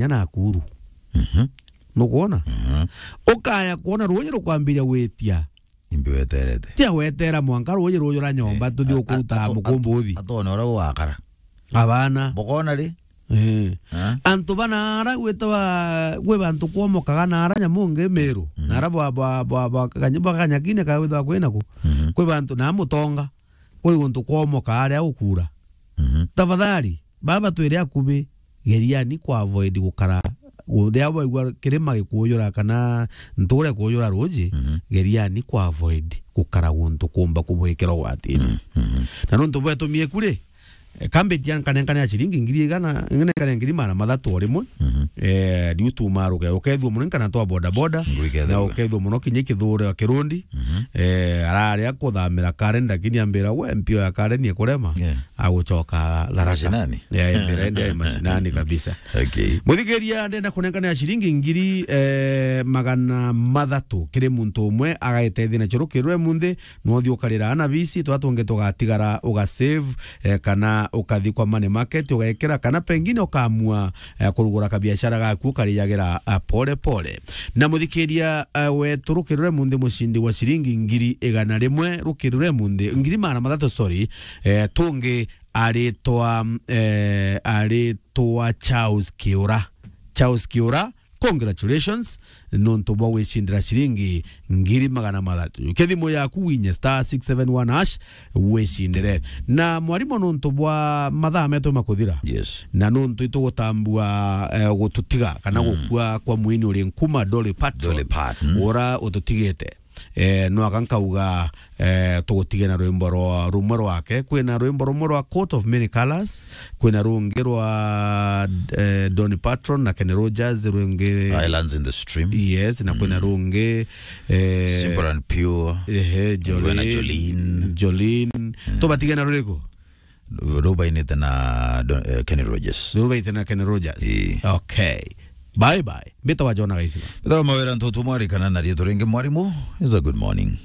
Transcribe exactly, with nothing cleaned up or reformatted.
Kenya na Nakuru. Mhm. Nukwona? Mhm. Ukaya kwona ruuji rukwambiria gwitia. Imbi weterete. Tia wetera mwanka ruuji rujura nyomba, eh, tuthi a-, a-, ukuruta ato-, mukumbuthi. Atone uria gugakara. Abana. Bukona ri? Eh. Eh? Antu banaara gwitawa, gwi bantu kwomokaga naara nyamu ngi Meru. Mhm. Naara bwa, bwa, bwa, bwa, kanya-, bwa kanyakine ka withawa kwinaku. Mhm. Kwi bantu na mutonga. Kwi guntu kwomoka aria ukura. Mhm. Tafadhali, baba twire akubi, geriani kwa avoid gukara, gu-, riria waigua kirima gikujura kana nture kujura ruuji, mhm, geriani kwa avoid gukara guntu kumba kubwikira ugwatini. Mhm, mhm. Na nuntu bwetumie kuri, eh, kambiti ya nkanenkane ya ciringi ngiri igana, nkanenkane ngiri magana mathatu o rimwe. Mhm. Eh, riu tumaruke, ukethua muno nkana twa boda boda, ngwikethua, na ukethua muno kinya kithura kirundi. Mhm. Eh, araria kuthamira Karen, lakini ambira, "We, mpio ya Karen ikurema." Yeah. Agucoka Tharaka. Mashinani? Yeah, ambira, "Ende mashinani kabisa." Okay. Muthikiria, ndenda kunenkana ya ciringi ngiri, eh, magana mathatu kiri muntu umwe, agaitethia na churukirwe munthi, no uthi ukarira ana bisi, twa tungi tugatigara, uga save, eh, kana ukathi kwa money market, ugekira, kana pengine ukamua eh, kurugura kabiashara gaku ukarijagira, ah, pole pole. Na muthikiria, eh, wetu rukirure munthi mucindi wa ciringi ngiri igana rimwe, rukirure munthi, ngiri magana mathatu, sorry, eh, tungi aritwa, eh, aritwa Charles Kiura. Charles Kiura, congratulations, nontu bwa gwicindira ciringi ngiri magana mathatu. Ke thimu yaku winye star six seven one hash, wicindire. Na mwarimu, nontu bwa mathaa metu makuthira, yes, na nontu itugutambua, eh, gututiga kana, mm, gukua kwa mwini uri nkuma, Dolly Parton, Dolly Parton, ura ututigite. Eh, no aka nkauga, eh, tugutige na rwimbo rwa, rumwe rwake. Kwina rwimbo rumwe rwa Coat of Many Colors, kwina rungi rwa, eh, Dolly Parton na Kenny Rogers, rungi Islands in the Stream. Yes, na kwina, mm, rungi, eh, Simple and Pure. Ehe, kwina Jolene. Jolene. Jolene. Mm. Tubatige na ruriku? Rubainite na Don-, eh, Kenny Rogers. Rubainite na Kenny Rogers. Ii. Okay. Bye bye. Mbita wa Jona Gaisiba. Mbita wa Mawira Ntutu, mwarikana na riitwa ringi mwarimu. It's a good morning.